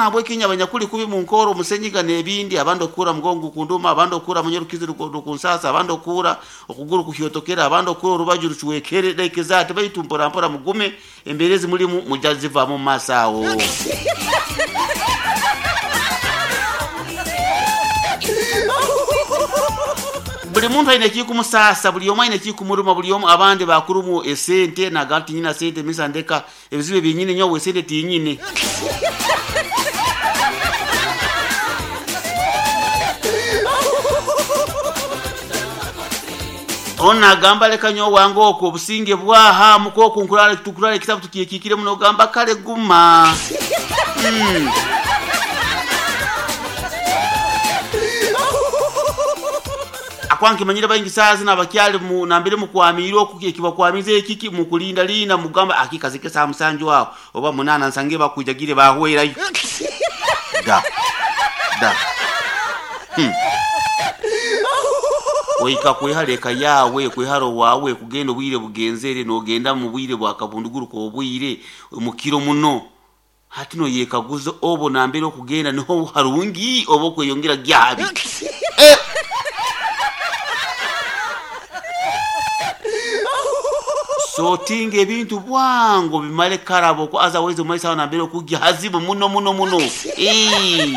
Nahabweki inywe abanyakuli kubi munkoora omusenyiga n'ebindi, abandi okuhurra mugongo gukunduma, abandi okuhurra munyarukizi rukunsaasa, abandi okuhurra okuguru kuhyotokere, abandi okuhurra orubaju rucwekere, like that, baitu mpora mpora mugume, embeera ezi mulimu mugya zivaamu omu maaso aho. Buli muntu aine ekikumusaasa, buli omu aine ekikumuruma, buli omu, abandi bakurumu esente, nagamba tinyina sente misa ndeka Ebizibu ebi nyine nyowe sente tinyine. Onu nagamba leka nyowe wange okwo obusinge bwaha muka oku nkurara tukurara ekitabu tukyekikire muno ogamba kale guma. Mm. Ahakuba nkimanyire baingi saaha zinu abakyali mu nambere mukwamiire oku ekibakwamize ekiki mukulinda linda mugamba akikazi ke saaha musanju aho oba munaana nsange bakwijagire bahwerayo. Da da hmm. Ohika kwehara eka yaawe, kwehara owaawe, kugenda obwire bugenzere, nogenda mu bwire bwa kabunduguru k'obwire mukiro muno. Hati noyekaguza obu nambere okugenda niho harungi oba okweyongera gya habi? Eh! Sortinga ebintu bwangu obimare karaba oku otherwise omumaiso aho nambere okugya hazibu muno muno muno. Eeh.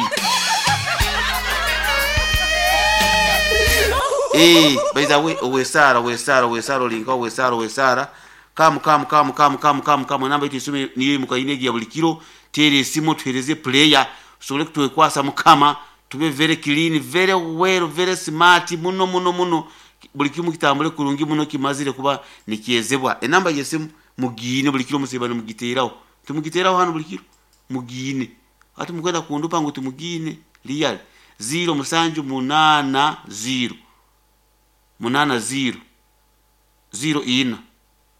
Eeh, by the way, ow'esaara, ow'esaara, ow'esaara oli nkaha ow'esaara, ow'esaara. Come, come, come, come, come, come, come, enamba yaitu y'esimu niyo ei mukaine egi ya buli kiro, teera esimu otuheereze pureya tusobole kutwekwasa Mukama, tube very clean, very well, very smart muno muno muno, buli kimu kitambure kurungi muno kimazire kuba nikyezebwa. Enamba y'esimu mugiine buli kiro musiiba nimugiteeraho, timugiteeraho hanu buli kiro? Mugiine. Hati mukwenda kundupa ngu timugiine? Really? Ziiro musanju munaana ziiro, munaana ziiro. ziiro ina,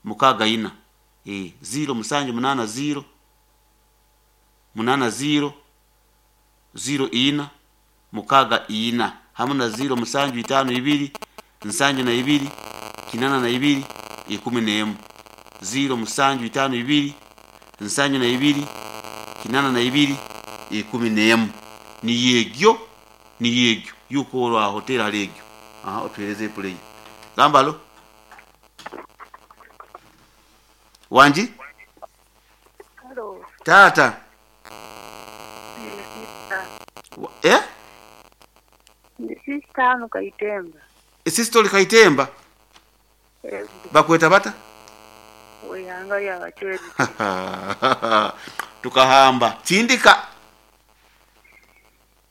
mukaaga ina, ee, ziiro musanju munaana ziiro, munaana ziiro, ziiro ina, mukaaga ina, hamu na ziiro musanju itaano ibiri, nsanju na ibiri, kinana na ibiri, ikumi n'emu. Ziiro musanju itaano ibiri, nsanju na ibiri, kinana na ibiri, ikumi n'emu. Niyo egyo, niyo egyo. Yuka aho teera hali egyo. Aha, otuheereze epuleyi. Gamba alo. Wangi? Halo. Taata. Ndi sister. Eh? Ndi sister hano Kaitemba. Sister oli Kaitemba? Ego. Bakweta bata? Ow'eihanga lya Bachwezi. Tukahamba. Tindika.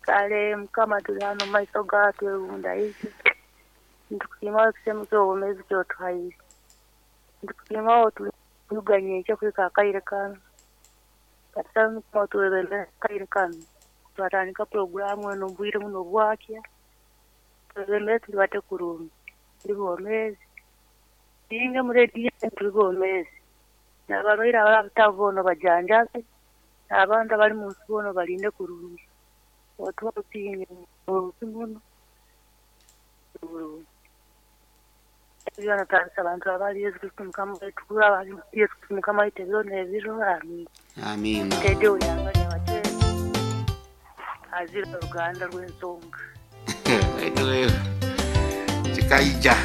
Kale Mukama tuli hano mu maiso gawe twebundaize, nitukusiima olw'ekisemo ky'obwomeezi ky'otuhaire. Nitukusiima olw'otuliga nyenkya kuhika akaire kanu. Katusabe Mukama otwebembere akaire kanu. Twatandika puroguramu enu omu bwire bunu obwakya, twebembere tulibate kurungi, tuli bomeezi. Tuhinge mu rediyo enu tuli bomeezi. N'abarwaire abarabutaho boona obajanjabe. N'abantu abali mu nsi boona obalinde kurungi. Otuhe obusinge omu nsi munu. Ebi byona twabisaba nitwaba ahari Yesu Kristo Mukama waitu, kuraba ahari Yesu Kristo Mukama waitu ebiro n'ebiro. Amiina. Amiina. Teddy Ouyanga Nyabachwezi, azira oruganda rw'ensonga. Kikaija.